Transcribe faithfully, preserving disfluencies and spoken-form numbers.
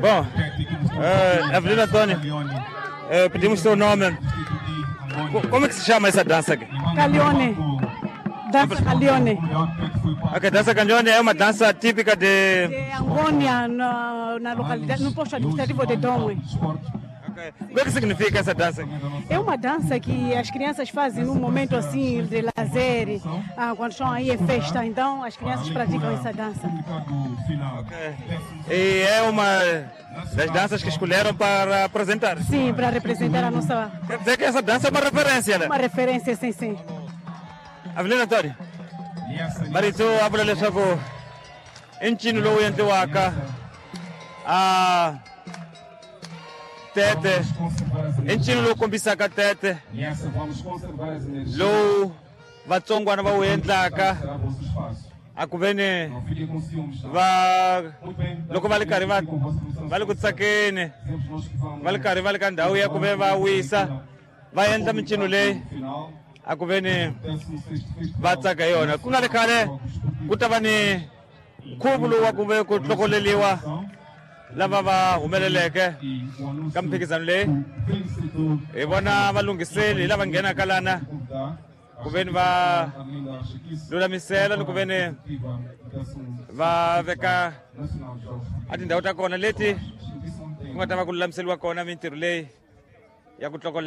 Bom, uh, Avelino Antônio, uh, pedimos seu nome. Como é que se chama essa dança aqui? Calione. Dança Calione. Ok, dança Calione é uma dança típica de... De Angônia, na, na localidade, no posto administrativo de Dóngwe. Okay. O que, é que significa essa dança? É uma dança que as crianças fazem num momento assim de lazer, ah, quando estão aí em festa, então as crianças praticam essa dança. Okay. E é uma das danças que escolheram para apresentar? Sim, para representar a nossa... Quer dizer que essa dança é uma referência, né? Uma referência, sim, sim. Avelino Antônio, marito a vula leswaku i ncino lowu endliwaka a tete, i ncino lowu kombisaka tete lowu vatsongwana va wu endlaka a ku veni va loko va ri karhi va va le ku tsakeni, va ri karhi va le ka ndhawu ya ku ve va wisa, va endla mincino leyi a ku veni va tsaka hi yona. Ku nga ri khale ku ta va ni nkhuvo lowu wa ku ve ku hlokoleriwa lava va humeleleke ka mphikizano leyi. Hi vona valunghiseli hi lava nghenaka lana ku veni va lulamisela ni ku veni va veka a tindhawu ta kona leti ku nga ta va ku lulamiseriwa kona mintirho leyi ya ku hlokolela.